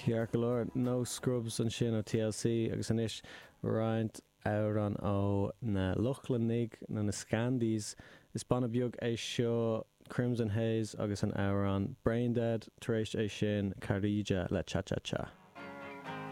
Ceart go leor, No Scrubs ansin ó TLC agus anois roinnt amhrán ó na Lochlannaigh nó na Scandies. Is banna beag é seo Crimson Haze agus an amhrán Brain Dead, tar éis é sin Käärijä le Cha Cha Cha.